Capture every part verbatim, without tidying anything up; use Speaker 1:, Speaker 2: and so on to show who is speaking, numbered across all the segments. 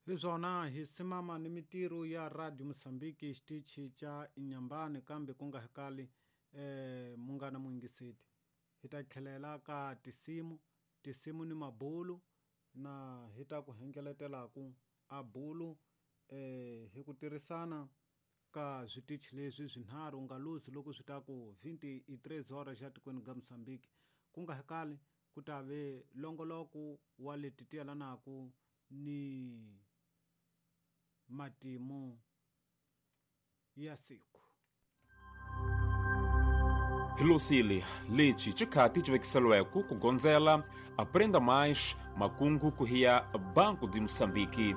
Speaker 1: Hi swona hi simama ni mitirho ya Radio Mosambiki xitichi xa Inyambani kambe ku nga hekali eh munghana muyingiseti hi ta tlhelela ka tisimu tisimu ni mabulu na hi ta ku hengeletelaku a bulu eh hi ku tirhisana ka switichi leswi swinharhu nga luzi loko swi ta ku twenty-three horas xa tikweni ga Mosambiki ku nga hekali ku ta ve longoloko wa leti ti yelanaku ni matimu ya siku.
Speaker 2: Hilosile lexi xikhati xi vekiseliweke ku gondzela Aprenda Mais makungu ku hiya Banco de Moçambique.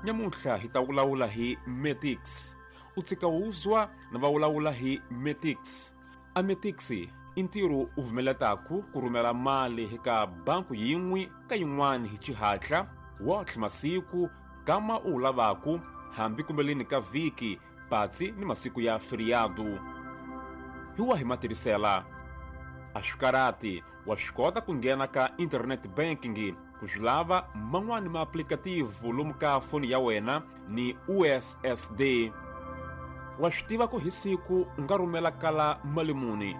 Speaker 2: Nyamuntlha hi ta vulavula hi Metix. U tshika uzwa na va vulavula hi Metix. A Metix i ntirho u vumeletaku ku rhumela mali eka banku yin'we ka yin'wana hi xihatla wotlhe masiku kama u lavaku hambi kumbeleni ka vhiki patsi ni masiku ya feriado. Hi wahi matirhisela? A swi karati wa swi kota ku nghena ka internet banking ku swi lava man'wani ma-applicative lomu ka foni ya wena ni U S S D. Wa swi tiva ku hi siku u nga rhumela kala mali muni.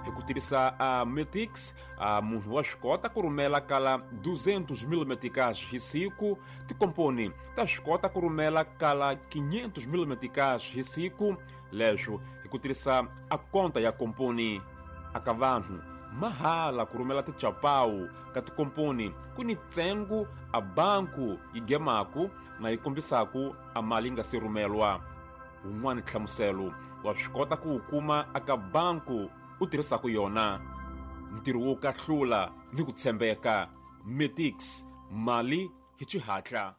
Speaker 2: Hi ku tirhisa a Metix, a munhu wa swi kota ku rhumela kala duzentos mil meticais hi siku, tikomponi ta swi kota ku rhumela kala quinhentos mil meticais hi siku, leswo hi ku tirhisa a konta ya komponi. Aka vanhu mahala ku rhumela tichapawu ka tikomponi ku ni ntsengo a banku yi gemaku na yi kombisaku a mali yi nga se rhumelwa. Wun'wani nhlamuselo wa swi kota ku wu kuma aka banku u tirhisaku yona. Ntirho wo kahlula ni ku tshembeka. Metix, mali hi xihatla.